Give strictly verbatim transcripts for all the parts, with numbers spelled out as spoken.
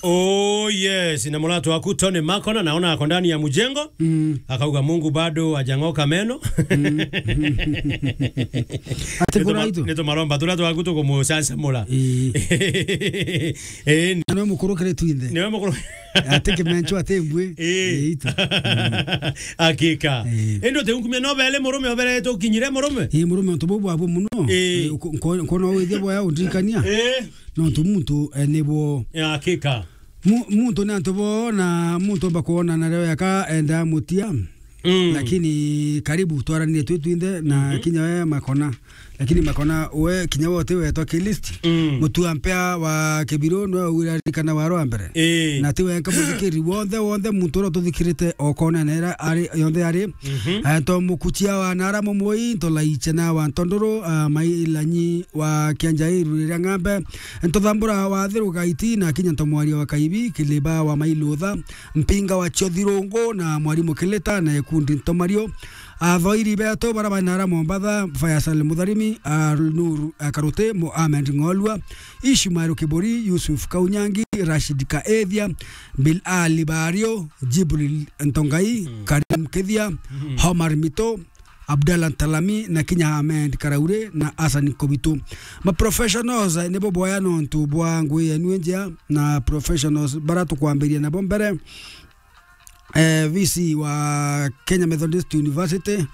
Oh yes, na muratu waku Tony Makona, naona ako ndani ya mjengo. Mm. Akauga, "Mungu bado hajang'oka meno." Mm. Ati bura itu. Nitumaromba turia twaku tukumucanjamura. Ii. Ii. Na niwe mukuru kiri twinthe. Niwe mukuru. Ati kimencho ati mbwi. Ii. Ii, itu. Mm. Hakika. Ii. Indi uti unkumia no bele murume obere tukinyire murume? Ii, murume untu bubu abu muno. Ii. Ii, uko-, nko-, nkona withia boya undirikania. Ii. Nontu muntu, eh, nibo. Ya, hakika. Mu-, muntu ni antu bo, na muntu omba kwona na leo yaka enda mutia. Mm. Lakini karibu twaranire twi twinthe na Mhm. kinya we Makona. Lakini Makona we kinya we uti wetwa ki list. Mm. Mutua mpea wa Kibiru niwe uraririkana wa rwa mbere. Ii. Na ti wenka muthikiri wonthe, wonthe muntu uria ututhikirite o kona na ira ari, yonthe ari. Mhm. Eh, nto mukuchia wa Nara Mumui, nto Laichena wa Ntondoro, ah, Mailanyi wa Kianjairu riria ng'ambe, nto Thambura wa Thiru Gaiti, na kinya nto Mwaria wa Kaibi, Kiliba wa Mailutha, Mpinga wa Chiothirungu, na Mwarimu Kilita, na ikundi nto Mario. Athoiri betu bara ba Nara Mombatha, Faisal Mutharimi, ah, Nur, ah, Karuti, Mohamed Ng'olua, Ishmael Kiburi, Yusuf Kaunyangi, Rashid Kaethia, Bilali Bario, Jibril Ntongai, Mm. Karim Kithia, Mm. Omar Mito, Abdallah Ntalami, na kinya Ahmed Karaure na Hassan Kobitu. Ma professionals, eh, nibo boya nontu bwa ngui yenu njia na professionals bara tukwambiria nabo mbere. Eh, V C wa Kenya Methodist University,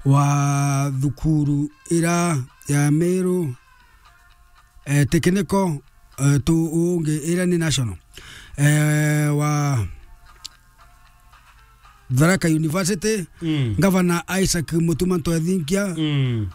wa thukuru ira ya Meru, eh, Technical, eh, tu ungi ira ni national. Eh, wa Tharaka University, Mm. Gavana Isaac Mutuma Ntwethinkia, Mm.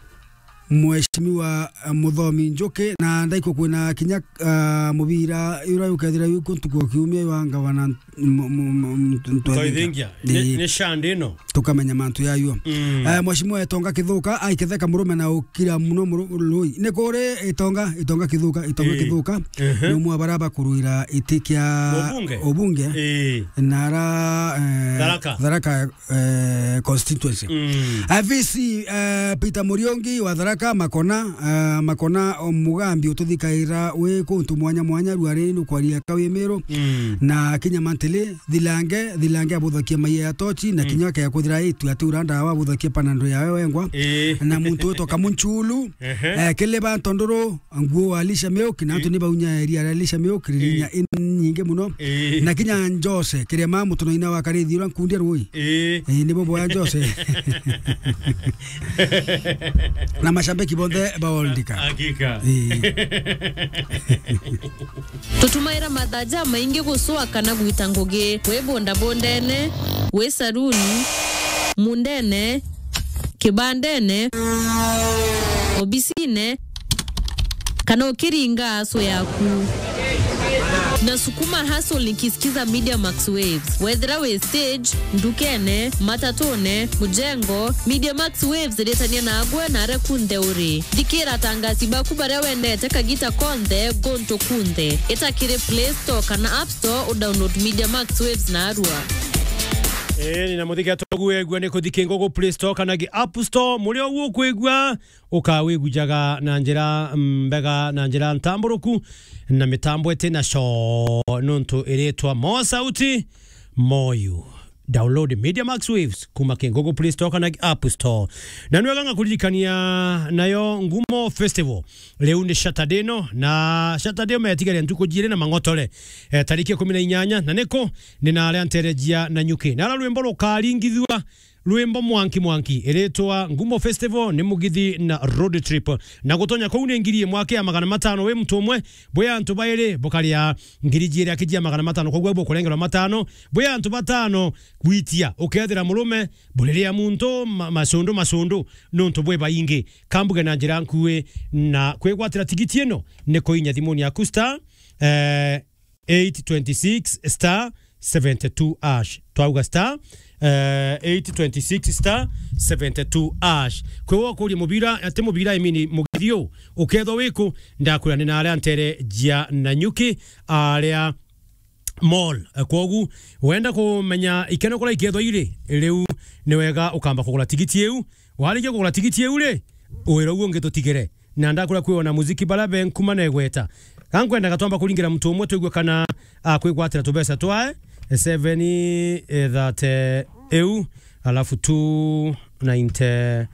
Mheshimiwa, eh, Muthomi Njuki, na ndaikwo kwina kinya, ah, mubira ura ukethira wi ku ntuku kiumia wa Gavana M-, m-, m-, m-, Ntwethinkia. Ntwethinkia. Ni, Ii. ni shandi ino. Tukamenya mantu yayo. Mm. Eh, Mheshimiwa Etonga Kithuka, aiketheka murume na ukira muno muru-, lui. Ni kuri Etonga, Etonga Kithuka, Etonga Ii. Kithuka. Ehe. Ni umwe wa bara bakuruira iti kia Ubunge? Ubunge. Ii. Nara, eh, Tharaka. Tharaka, eh, constituency. Mm. Eh, V C, eh, Peter Muriungi wa Tharaka, Makona, eh, Makona o Mugambi ututhikaira wi kuntu mwanya mwanya ruari nukwaria Kawimiru. Mm. Na kinya mantili, Thilange, Thilange abuthakia maia ya tochi, na Mm. kinya kea kuthira itu ati ura ndawa abuthakia panando yawe wengwa. Ii. Na muntu witwa Kamunchulu, Ehe. eh, Kiliba Ntondoro, nguo wa Alisha Miuk, na antu Ii. ni baunya eria ya Alisha Miuk, Ii. rinya inyingi muno. Ii. Na kinya Njose, Kirema mutunaina wa Karithi ura nkundia rui. Ii. Ii, nibo boya Njose. Na mashabiki bonthe ba World Cup. Hakika. Ii. Tutumaira mathaa jamaingi gucua kana gwita ngugi, wi bundabundene, wi saruni, mundene, kibandene, obisine, kana ukiringa aso yaku. Na sukuma hustle nikisikiza Media Max Waves. Wethira wi stage, ndukene, matatune, mujengo, Media Max Waves iritania nagwe na aria kunthe uri. Thikira atangasi baku baria wendete kagita konthe, guntu kunthe. Ita kiri Play Store kana App Store, u download Media Max Waves narua. Ii, ni na muthikira togu wegua ni kuthiki ngugu Play Store kana gi App Store, muri ogu ukwigua, ukawigujaga na njira mbega, na njira ntamburuku, na mitambo iti na coo, nontu iritwa Mo Sauti, Moyu. Download Media Max Waves kuma ki Google Play Store kana App Store. Na nwega ngakuririkania nayo Ngumo Festival. Riu ni Saturday no, na Saturday umetigare ntuku jiiri na mang'otore. Eh, tariki ikumi na inyanya, na niku ni na aria nterejia na nyuki. Na ara rwimbo rukaringithua, rwimbo mwanki mwanki, iritwa Ngumo Festival ni mugithi na road trip. Na gutonya kuu ni ngiri imwe aki ya magana matano wi muntu umwe, bwi antu bairi bukaria ngiri jiiri aki jia magana matano, koguo bukurengerwa matano, bwi antu batano gwitia, ukethira murume, buriria muntu ma-, macundu, macundu, nontu bwi baingi. Kambuge na njira nkui na kwigwatira tigiti ino ni kuinya thimuni yaku star, eh, eight twenty six star seventy two hash. Twauga star, eh, eight twenty six star seventy two hash. Kwi we ukuria mubira, ati mubira, I mean, mugithi u, ukethwa wiku, ndakwira ni na aria ntere jia Nanyuki, aria mall. Eh, kwogu, wenda kumenya ikeno kuria ikethwa iri, riu ni wega ukamba kugura tigiti iu. Warikia kugura tigiti iu ri, wira uguo ungi tutigire. Na ndakwira kwi ona muziki bara be nkuma na igweta. Ga nkwendaga twamba kuringira muntu umwe twigue kana akwigwatira tubesa twae, seven thirty eu, alafu two ninety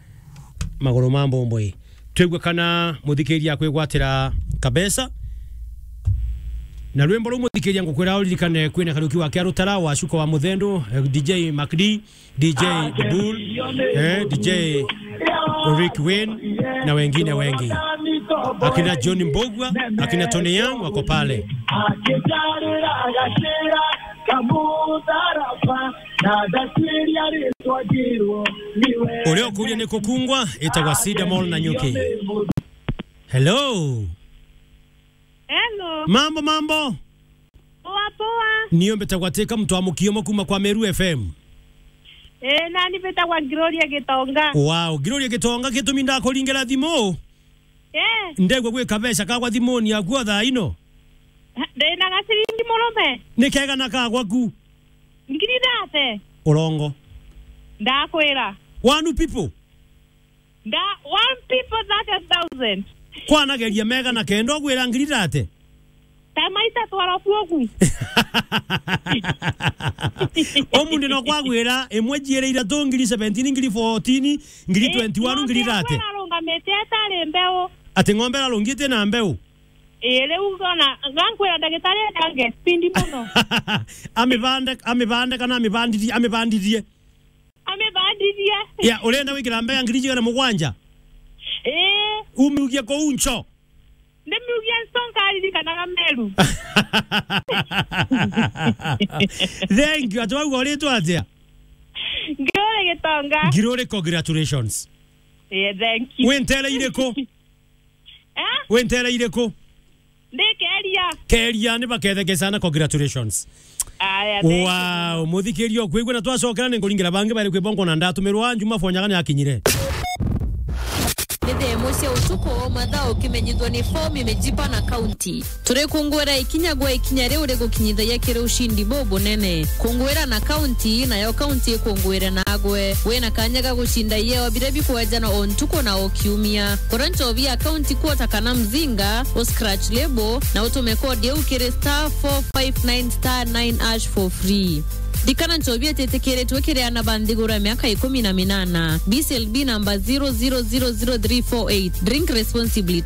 maguru ma mbomboi. Twigua kana muthikiria akwigwatira kabesa. Na rwimbo ruu muthikiria ngukwira uririkane kwina Kariuki wa Kiarutara, wa Shuka wa Muthendo, eh, D J Mac D, D J Bull, eh, D J Rick Wayne na wengine wengi. Akina John Mbogwa, akina Tony Young wako pale. Uria ukuria ni kukungwa, itagwa Cedar Mall Nanyuki. Hello. Hello. Mambo, mambo. Poa, poa. Niyo mbetagwa Teka, mtu wa Mukiomo kuma kwa Meru F M. Eh, nani mbetagwa Gloria Gitonga. Wow, Gloria Gitonga, gitumi ndakuringira thimu? Eh. Ndegwa gwi kabeca kagwa thimuni yaku o thaa ino. Ndina gaciringi murume. Ni kegana kagwa ku? Ngiri thate. Urongo. Ndakwira. One people? Nda, one people thirty thousand. Kwanageria mega na kenda ugwira ngiri thate? Ta maita twarabu ugu. Umunthi no kwagwira imwe ciere ithatu, ngiri seventeen, ngiri fourteen, ngiri twenty-one, ngiri thate. Ng'ombe ararungamite atari mbeu. Ati ng'ombe ararungite na mbeu? Ii, riu ona, gankwira ndagitari ajange speed muno. Amibande, amibande kana amibandithie, amibandithie? Amibandithie. Ya, urenda gwikira mbea ngiri igana mugwanja? Ii. Umiugie kuu ncho? Ndimiugie ncho, nkaririkanaga Meru. Thank you. Ati wauga uritwa atia? Ngiruri Gitonga. Ngiruri, congratulations. Yeah, thank you. Wi ntere iriku? Eh? Wi ntere iriku? Ndi Keria. Keria, ni baketheke sana, congratulations. Aya, thank you. Wow, muthikiria ukwigua na twacokera ni nkuringira bangi bari kwibongo na ndatumirwa Juma Fonyaga ni akinyire. Ni thaa imwe cia utuku, mathaa ukimenyithwa ni fomu imejipa na kaunti. Turi kungwira ikinya gwa ikinya riu rigukinyithagia kiri ushindi bubunene. Kungwira na kaunti, nayo kaunti ikungwire nagwe. Wina kanya ga gucinda ieo biria bikwejanwa o ntuku na o kiumia. Kura nchobi ya kaunti kuota kana mzinga, u scratch label, na utume kodi iu kiri star four five nine star nine hash for free. Ririkana nchobi ititikiritwe kiri ana ba nthiguru ya miaka ikumi na minana. B C L B number zero zero zero zero three four eight. Drink responsibly.